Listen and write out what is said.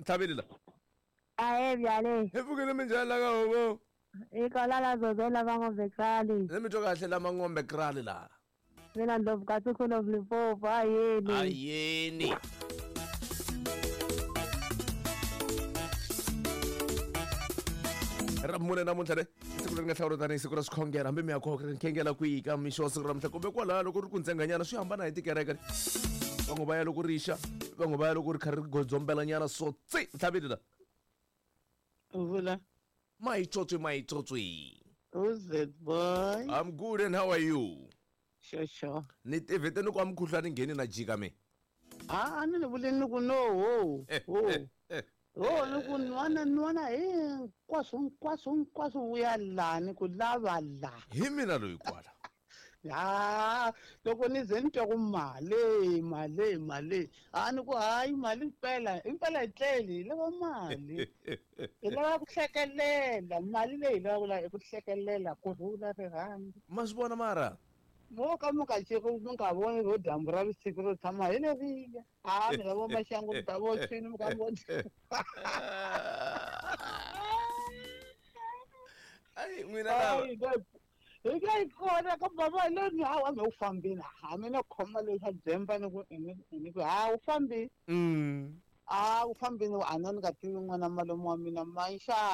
Mtlhaveli la. Ahe byale. Hi pfukile minjhani la ka hovo? Hi kwala la zozo la va ngombe krali. Ni mi twa kahle la mangombe krali la. Mina Ndlovu kasi Queen of Limpopo ayeni. Ayeni. Ra mune namuntlha le siku leri nga hlawuriwa tanihi siku ra swikhongelo hambi mi ya khongela kwihi ka mixo wa siku ra namuntlha kumbe kwalaho loko ri ku ntsenganyana swi hambana hi tikereke van'we va ya loko ri xa van'we va ya loko ri kha ri godzombelanyana so tsi ntlhaveli la Vula. Mayitswotswi mayitswotswi. Who's that boy? I'm good and how are you? Sure, sure. Ni tivhete ni ku a mukhuhlwani ngheni na jika me. Ah, a ni ni vuleni ni ku no ho ho ho ni ku nwana nwana hinkwaswo hinkwaswo hinkwaswo vuya la ni ku lava la. Hi mina loyi kwala. Ha loko ni ze ni twa ku mali mali mali a ni ku hayi mali impela impela hi tleli hi lava mali hi lava ku hlekelela mali leyi hi lavaka la i ku hlekelela ku rhula rirhandzu. Ma swi vona mara? Mo ka mi nga ceki mi nga voni ro dyambu ra vusiku ro tshama hi leriya a mi lavo maxangu mi ta vo tshwini mi ka mi Ai n'wina lava. Hi nga yi kona ka bava le ni hawa me u fambini ha mina khoma le xa dzemba ni ku ni ku ha u fambini. A u fambini a na ni nga tivi n'wana malume wa mina manxa.